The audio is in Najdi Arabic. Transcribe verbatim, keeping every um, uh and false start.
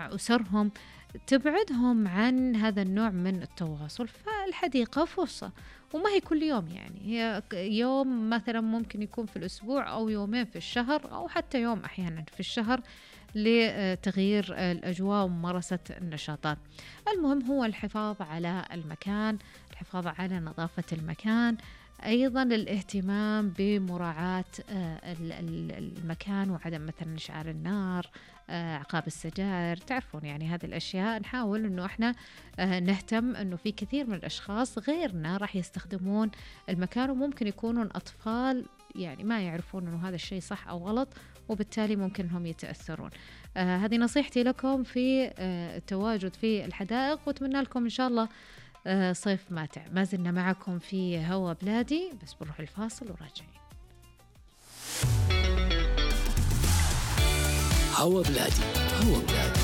مع أسرهم، تبعدهم عن هذا النوع من التواصل. فالحديقة فرصة، وما هي كل يوم، يعني هي يوم مثلا ممكن يكون في الأسبوع أو يومين في الشهر أو حتى يوم أحيانا في الشهر لتغيير الأجواء وممارسة النشاطات. المهم هو الحفاظ على المكان، الحفاظ على نظافة المكان، أيضا الاهتمام بمراعاة المكان وعدم مثلا إشعال النار، عقاب السجائر، تعرفون يعني هذه الأشياء. نحاول أنه إحنا نهتم أنه في كثير من الأشخاص غيرنا راح يستخدمون المكان، وممكن يكونون أطفال يعني ما يعرفون أنه هذا الشيء صح أو غلط، وبالتالي ممكن هم يتأثرون. آه هذه نصيحتي لكم في آه التواجد في الحدائق، وأتمنى لكم إن شاء الله آه صيف ماتع. ما زلنا معكم في هوا بلادي، بس بنروح الفاصل وراجعين. هوا بلادي، هوا بلادي.